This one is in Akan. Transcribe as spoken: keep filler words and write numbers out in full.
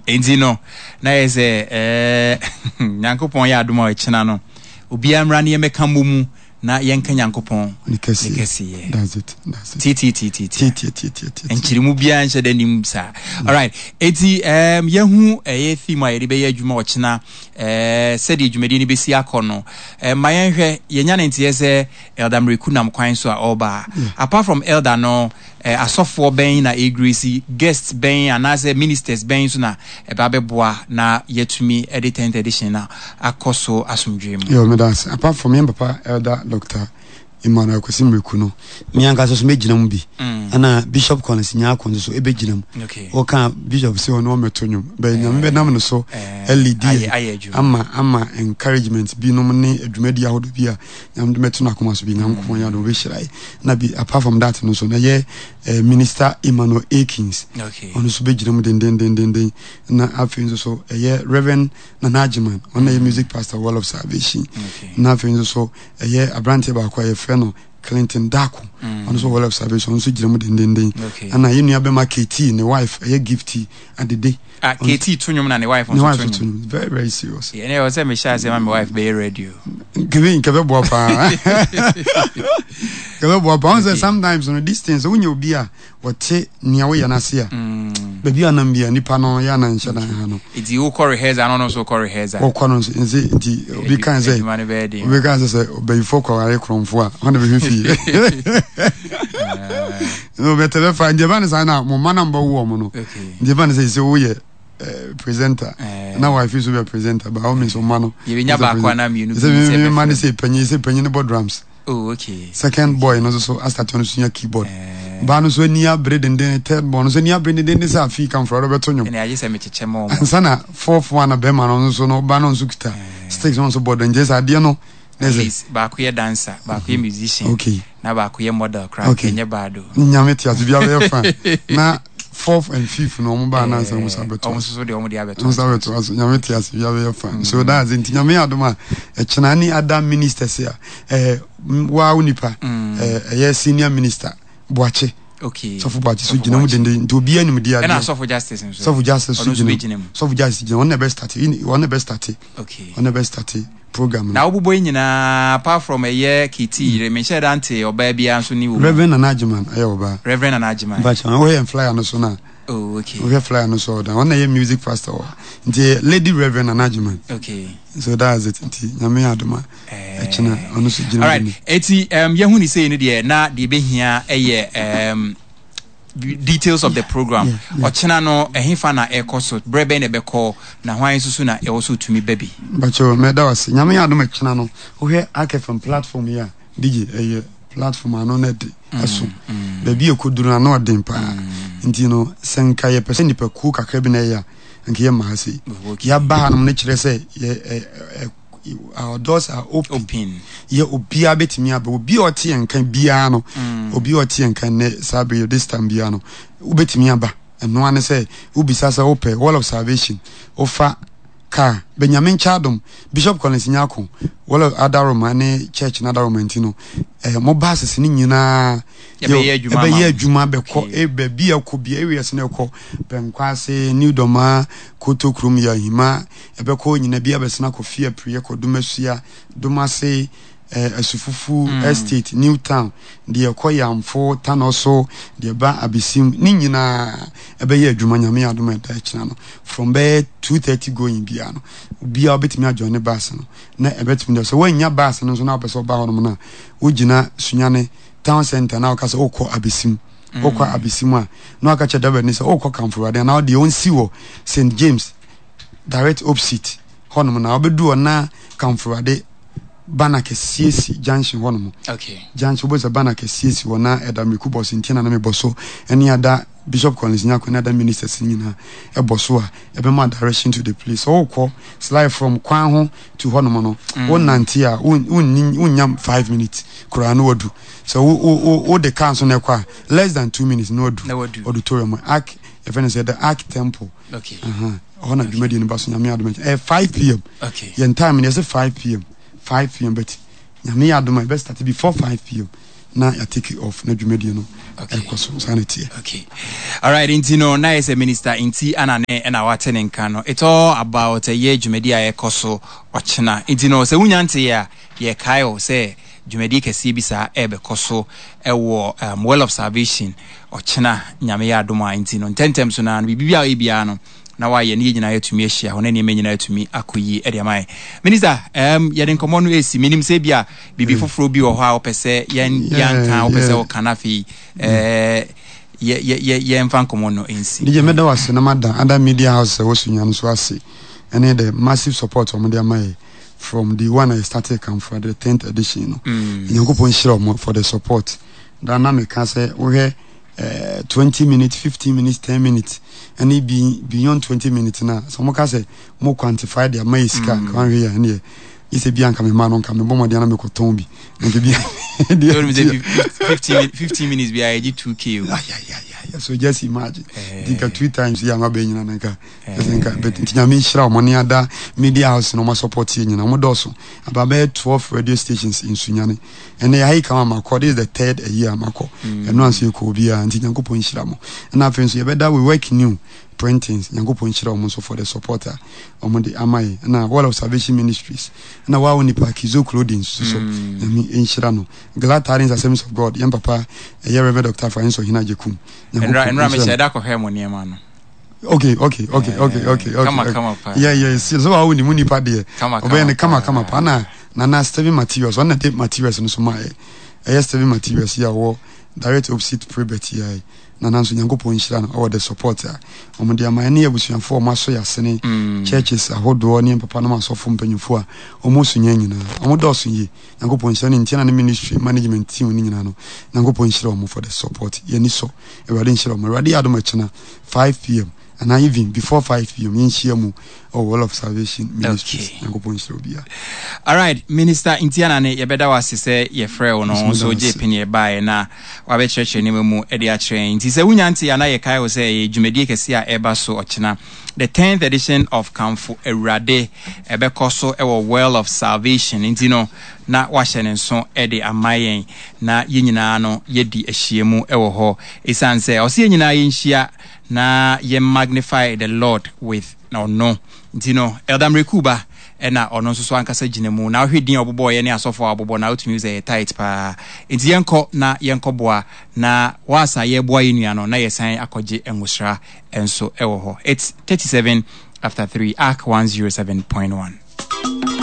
Enti no, na yɛ sɛ ɛɛ Nyankopɔn yɛ adom a, ɔkyena no obiara mmra ne yɛmmɛka mmɔ mu na yɛnka Nyankopɔn ne kɛseɛ. Ne kɛseyɛ. That's it, that's it. Titititi. Tiatiatiatia. Nkyirimu biara nhyɛ da nim saa. Alright, eti um, yɛhu ɛyɛ theme a yɛde bɛyɛ adwuma ɔkyena, ɛɛ sɛdeɛ dwumadie no bɛsi akɔ no, ɛɛ ma yɛnhwɛ yɛnya ne nteɛ sɛ Elder Mreku nam kwan so a ɔreba. Apart from Elder no, ɛɛ asɔfoɔ bɛn na ɛgrace, guest bɛn anaasɛ ministers bɛn so na ɛba bɛboa na yɛtumi ɛde tenth edition na akɔ so asomdwee mu? Yo, meda ase. Apart from yɛn papa Elder Doctor Emmanuel Kwesi Mreku no, me ankasa so mɛgyina mu bi. Mm. Ɛna Bishop Collins Nyako nso so ɛbɛgyina mu. Okay wɔka Bishop sɛ ɔno ɔmɛto nnwom bɛyɛ, Nyame bɛnam no so Eh, ɛlead ayɛ ayɛ adwuma. ama ama encouragement binom ne adwumadi ahodoɔ bi a Nyame de mɛto no akoma so bi. Nyankopɔn yɛ adom, wobɛhyira yɛ. Na bi apart from that no so na yɛ eh, Minister Emmanuel Akins, okay ɔno nso bɛgyina mu dendendendenden. Na afei nso so ɛyɛ Reverend Nana Agyeman, ɔno na ɛyɛ music pastor, Wall of Salvation. Okay na afei nso so ɛyɛ aberanteɛ baako a yɛfrɛ no Clinton Dako, ɔno nso Wall of Salvation, ɔno nso gyina mu dendenden. Okay ɛna yɛn nua bɛma K T, ne wife ɛyɛ Gifty Adede. Ah, K T to nnwom na ne wife ne nso wife to to nnwom. No very very serious. Ɛnɛ ɛwɔ sɛ mehyɛ ase ma me wife bɛyɛ radio. Nkebe nkebe boa paa, nkebe boa paa. Ɔn sɛ Okay. sometimes no, these things, wonyɛ obi a wɔte nea woyɛ n'ase a, Mm. baabi a nam bi a nipa no yɛ ana nhyɛ dan ha no. Nti wokɔ rehearsal no, ɔno nso wokɔ rehearsal. Wɔkɔ no nso nti nti obi kan sɛ adwuma no bɛyɛ den. Obi kan sɛ sɛ ɔbɛyifo kɔware korɔmfo a, ɔna bɛhwɛ fie no bɛtɛ bɛfa. Nti ɛba ne saa na mo mma na mbɔ wo wɔn no. Okay nti ɛba ne sɛ sɛ woyɛ eh, presenter Eh. na wife so bɛ presenter, by all means ɔma no yɛbɛnya baako anaa mmienu bi sɛ sɛ mi ma ne ɛbɛfrɛ. Sɛ panyin sɛ panyin no bɔ drums. Oh, okay. Second boy no nso so astart, ɔno so nya keyboard. Eh. Baa no so ani abere denden, third boy no so ani abere denden sɛ afei kamfra ɔbɛto nnwom. Ɛne agye sɛ mekyekyɛ ma ɔmo. Ansa na fourth one na bɛrima no nso no, ɔba no nso kita sticks no nso bɔ dɔn. Nkyɛn sɛ adeɛ no na At sɛ least baako yɛ dancer, baako yɛ musician, okay na baako yɛ model koraa. Okay. Kɛnyɛ baado. Nyame te ase, bia bɛyɛ fine. Na fourth and fifth no, ɔmo baa nansa ɔmo sa bɛto ɔmo ase. nso so deɛ ɔmo de abɛto Ɔmo sa bɛto ase. Nyame te ase, bia bɛyɛ fine. So that's it. Nti Nyame yɛ adom a, ɛkyena ne other ministers a ɛɛ waa wo nipa Mm. ɛɛ ɛyɛ Senior Minister Boakye. Okay Sɔfo Boakye so Sɔfo gyina mu Boakye. denden, nti obiara nim di Ɛna adeɛ. Sɔfo Justice nso. Sɔfo Justice so Ɔno nso gyina bɛgyina mu. Sɔfo Justice gyina, ɔno na ɛbɛ start, ɔno na ɛbɛ start. Okay ɔno na ɛbɛ start program no. Na wobobɔ yi nyinaa, apart from ɛyɛ K T yere, menhyɛ da nte ɔbaa biara nso ne wɔ mu. Reverend Nana Agyeman ɛyɛ ɔbaa. Reverend Nana Agyeman. Mpakyɛ, wɔyɛ flyer no so na Oh, okay. Wohwɛ flyer no so, ɔda ɔno na ɛyɛ music pastor wɔ, nti ɛyɛ Lady Reverend Nana Agyeman. Okay so that's it. Nti Nyame yɛ adom a, ɛkyena ɔno nso gyina Alright mu. Eti um, yɛhu ne sei no deɛ, na deɛ ɛbɛhia ɛyɛ um, details of the program. yeah, yeah. Ɔkyena no, ɛhefa na ɛkɔ so, berɛ bɛn na ɛbɛkɔ, na hwan nso so na ɛwɔ so tumi ba bi? Mpakyɛ, mɛda wase. Nyame yɛ adom, ɛkyena no, wohwɛ A K F M platform yi a, D J, ɛyɛ platform ano no ɛde ɛso baabi a ɛkɔduru no ano ɔden paa. Nti no, sɛ nka yɛpɛ sɛ nipakuo kakra bi na ɛyɛ a, nka yɛmma ha sei. Okay. Yɛaba hanom no kyerɛ sɛ yɛ ɛ- ɛ- our doors are open. Open. Yɛ obiara bɛtumi aba. Obi a ɔte yɛn nka biara no, obi a ɔte yɛn nka nnɛ saa bere yi, this time biara no, wobɛtumi aba. Ɛno ane sɛ wobisa sɛ wopɛ Wall of Salvation, wofa car bɛnyame nkyɛ adom Bishop Collins Nyako, Wall of adaroma ne church no adaroma. Nti no eh, mo buses no nyinaa Yɛbɛyɛ adwuma ama ɛbɛyɛ mo. Adwuma bɛkɔ. Okay. eh, baabi a ɛkɔ bia, areas no ɛkɔ Pɛnkwase, New Dɔma, Koto Kurom, yɛ Ahima, ɛbɛkɔ nyina bi abɛsena kɔ fie apriɛ, kɔ Domasua, Domase, eh, Asufufu Mm. Estate, New Town, deɛ ɛkɔ Yamfo Tanɔ so, deɛ ɛba Abesim ne nyinaa ɛbɛyɛ adwuma. Nyame yɛ adom a, ɛda akyina no, from bɛyɛ two thirty going biara no, obiara wobɛtumi ajoin ne bus no na ɛbɛtumi deɛ sɛ woannya bus no nso na wopɛ sɛ woba hɔnom no a, wogyina Sunyane Town Center na woka sɛ wokɔ Abesim. Wokɔ Abesim a, na waka kyerɛ driver ni sɛ wokɔ Kamfo Awurade anaa deɛ ɔnsi wɔ Saint James direct opposite hɔnom, na wobɛdu hɔ na Kamfo Awurade banner kɛseɛ si junction hɔnom. Okay junction, wobɛsɛ banner kɛseɛ si hɔ na ɛda Mmeku bɔ so. Nti na na mebɔ so ɛne ada Bishop Collins Nyako ne ada ministers no nyinaa ɛbɔ so a, ɛbɛma direction to the place. Sɛ wokɔ slide from kwan ho to hɔnom no, wonante a, won- wonni wonnya five minutes koraa na wadu. Sɛ wo wo wo wode car nso na ɛkɔ a, less than two minutes na wadu. Na wadu. Auditorium, Ark, yɛfrɛ no sɛ the Ark Temple. Okay Aha, hɔ na dwumadie no ba so. Nyame adom, ɛyɛ five p m. Okay yɛn time no yɛsɛ five p m, five p m, but Nyame yɛ adom a, ɛbɛ start before five p m. Na yɛ take off na dwumadie no ɛkɔ so. Saa na ɛteɛ. Okay, alright, nti no na yɛ sɛ Minister Nti ana ne ɛna wate ne nka no. It's all about ɛyɛ dwumadie a ɛkɔ so ɔkyena. Nti no sɛ wonya nteɛ a, yɛkae wo sɛ dwumadie kɛseɛ bi saa ɛbɛkɔ so ɛwɔ um, Well of Salvation ɔkyena, Nyame yɛ adom a. Nti no ntɛntɛm so naa no, biribi a ɔyɛ biara no na wayɛ ne yɛ nyinaa yɛatumi ahyia hɔ na nneɛma nyinaa atumi akɔ yie ɛde ama yɛn. Minister, um, yɛde nkɔmmɔ no ɛsi. Menim sɛ bi a biribi foforɔ bi wɔ hɔ a wopɛ sɛ yɛn yɛnka, wopɛ sɛ woka no, afei eh, yɛ- yɛ- yɛ- yɛmfa nkɔmmɔ no ɛnsi. D J, mɛda wo ase na mada other media house a ɛwɔ Sunya no so ase, ɛne the massive support ɔmo de ama yɛ from the one I started Kamfo the tenth edition no. Mm. Nyankopɔn nhyira ɔmo for the support. Da na meka sɛ wohwɛ eh, twenty minutes, fifteen minutes, ten minutes ɛne be, beyond twenty minutes na sɛ ɔmo ka sɛ mo quantify de ama yɛ sika, nka wanhwɛ yɛ ɛneɛ yɛ sɛ bia nka mema no nka mebɔ mmɔden na mekɔtɔn bi nka bia. Told me sɛ fifteen fifteen minutes bi a yɛgye two k o. Ay, ay, ay, ay. So just imagine. Eh. Nti nka two times yi ama bɛ nyina na nka ɛsɛ nka, but nti Nyame nhyira ɔmo ne ada media house na ɔmo support yɛ nyina. Ɔmo dɔɔso aba bɛyɛ twelve radio stations in Sunyani. Ɛnɛ yɛha yi kama makɔ, this is the third a year makɔ. Ɛno anso yɛkɔ obiara, nti Nyankopɔn nhyira mo. Ɛna afei nso yɛbɛda We Work New Printings, Nyankopɔn nhyira ɔmo nso for the support a ɔmo de ama yɛ. Ɛna Wall of Salvation Ministries, ɛna Waa Onipa Kizo Clothing nso so, Nyame nhyira no. Glad Tidings Assemblies of God, yɛn papa ɛyɛ Reverend Doctor Francis Ɔhene Agyekum. ɛnra ɛnra mehyɛ da kɔhwɛ mo nneɛma no. okay okay okay okay okay okay Kama kama paa. yeah yeah so so wa wo ni mu nipa deɛ Kama, ɔbɛyɛ ne kama kama kama paa. Pa na Nana Steven Materials, ɔno na de materials no so ma yɛ. Ɛyɛ Steven Materials yi a ɔwɔ direct opposite Prebet yi a, nana nso Nyankopɔn nhyira no ɔwɔ the support a ɔmo de ama. Ɛne abusuafoɔ a ɔmo asɔ yɛ asene, Mm. churches ahodoɔ ne papa nom, asɔfo mpanyinfoɔ a ɔmo so nyɛ nyinaa, ɔmo dɔɔso yie. Nyankopɔn nhyira ne ntia na ne ministry management team ne nyinaa no. Nyankopɔn nhyira ɔmo for the support. Yɛni sɔ, Awurade nhyira ɔmo. Awurade yɛ adom, akyena five p m anaa even before five p m yɛnhyia mu ɔwɔ Wall of Salvation Ministries. Okay. Nyankopɔn nhyira obiara. Alright, Minister Ntiana ne yɛbɛda wo ase sɛ yɛfrɛ wo no Nso nso meda gye ase. pene yɛbaeɛ na wabɛkyerɛkyerɛ nneɛma mu de akyerɛ yɛn. Nti sɛ wonya nte a, na yɛkae wo sɛ ɛyɛ dwumadie kɛseɛ a ɛba so ɔkyena, the tenth edition of Kamfo Awurade, ɛbɛkɔ so ɛwɔ Well of Salvation. Nti no na wahyɛ ne nso de ama yɛn na yɛn nyinaa no yɛdi ahyiamu ɛwɔ hɔ, ɛsiane sɛ ɔsɛ yɛn nyinaa yɛnhyia na yɛ magnify the Lord with na ɔno. Nti no Elder Mrekuba ɛna ɔno nso so ankasa gyina mu na wohwɛ din a ɔbobɔɔyɛ ne asɔfoɔ a ɔbobɔ na wotumi sɛ ɛyɛ tight paa. Nti yɛnkɔ na yɛnkɔboa na waasa yɛboa yɛ nua no na yɛsan akɔgye ngosra nso ɛwɔ hɔ. It's thirty-seven after three, Ark one oh seven point one.